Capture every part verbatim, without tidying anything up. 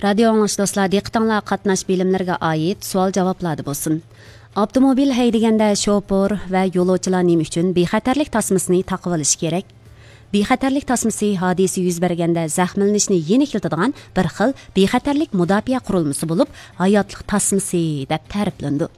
رادىيو ئاڭلىغۇچى دوستلار، دىققىتىڭلار قاتناش بىلىملىرىگە ئائىت سوئال-جاۋابلاردا بولسۇن. ئاپتوموبىل ھەيدىگەندە شوپۇر ۋە يولۇچىلار نېمە ئۈچۈن بىخەتەرلىك تاسمىسىنى تاقىۋېلىشى كېرەك؟ بىخەتەرلىك تاسمىسى ھادىسە يۈز بەرگەندە زەخىملىنىشنى يېنىكلىتىدىغان بىر خىل بىخەتەرلىك مۇداپىئە قۇرۇلمىسى بولۇپ، ھاياتلىق تاسمىسى دەپ تەرىپلىنىدۇ.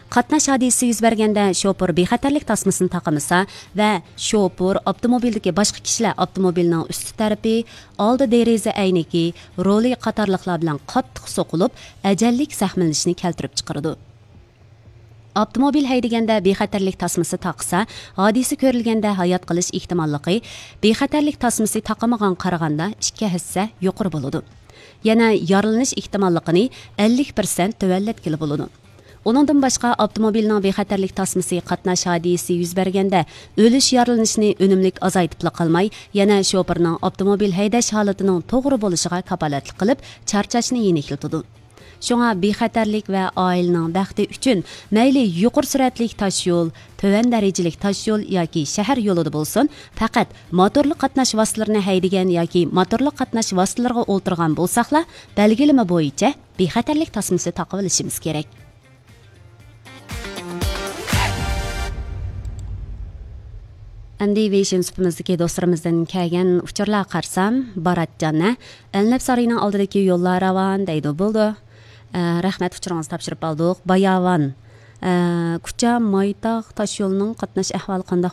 قاتناش ھادىسىسى يۈز بەرگەندە شوپۇر بىخەتەرلىك تاسمىسىنى تاقىمىسا ۋە شوپۇر، ئاپتوموبىلدىكى باشقا كىشىلەر ئاپتوموبىلنىڭ ئۈستى تەرىپى، ئالدى دېرىزە ئەينىكى، رولى قاتارلىقلار بىلەن قاتتىق سوقۇلۇپ، ئەجەللىك زەخىملىنىشنى كەلتۈرۈپ چىقىرىدۇ. ئاپتوموبىل ھەيدىگەندە بىخەتەرلىك تاسمىسى تاقىسا، ھادىسە كۆرۈلگەندە ھايات قېلىش ئېھتىماللىقى بىخەتەرلىك تاسمىسى تاقىمىغان قارىغاندا ئىككى ھەسسە يۇقىرى بولىدۇ. يەنە يارىلىنىش ئېھتىماللىقىنى ئەللىك پىرسەنت تۆۋەنلەتكىلى بولىدۇ. ئۇنىڭدىن باشقا، ئاپتوموبىلنىڭ بىخەتەرلىك تاسمىسى قاتناش ھادىسىسى يۈز بەرگەندە ئۆلۈش، يارىلىنىشنى ئۈنۈملۈك ئازايتىپلا قالماي، يەنە شوپۇرنىڭ ئاپتوموبىل ھەيدەش ھالىتىنىڭ توغرا بولۇشىغا كاپالەتلىك قىلىپ، چارچاشنى يېنىكلىتىدۇ. شۇڭا بىخەتەرلىك ۋە ئائىلىنىڭ بەختى ئۈچۈن مەيلى يۇقىرى سۈرئەتلىك تاشيول، تۆۋەن دەرىجىلىك تاشيول ياكى شەھەر يولىدا بولسۇن، پەقەت موتورلۇق قاتناش ۋاسىتىلىرىنى ھەيدىگەن ياكى موتورلۇق قاتناش ۋاسىتىلىرىغا ئولتۇرغان بولساقلا، بەلگىلىمە بويىچە بىخەتەرلىك تاسمىسى تاقىۋېلىشىمىز كېرەك. ئەمدى ۋېيشىن سۇپىمىزدىكى دوستلىرىمىزدىن كەلگەن ئۇچۇرلارغا قارىسام، باراتجان، ھە؟ ئەلنەپ سارىيىنىڭ ئالدىدىكى يوللار راۋان دەيدۇ. بولدى. ئە، رەھمەت، ئۇچۇرىڭىزنى تاپشۇرۇپ ئالدۇق. باياۋان، ئە، كۇچا مايتاغ تاشيولىنىڭ قاتناش ئەھۋالى قانداق؟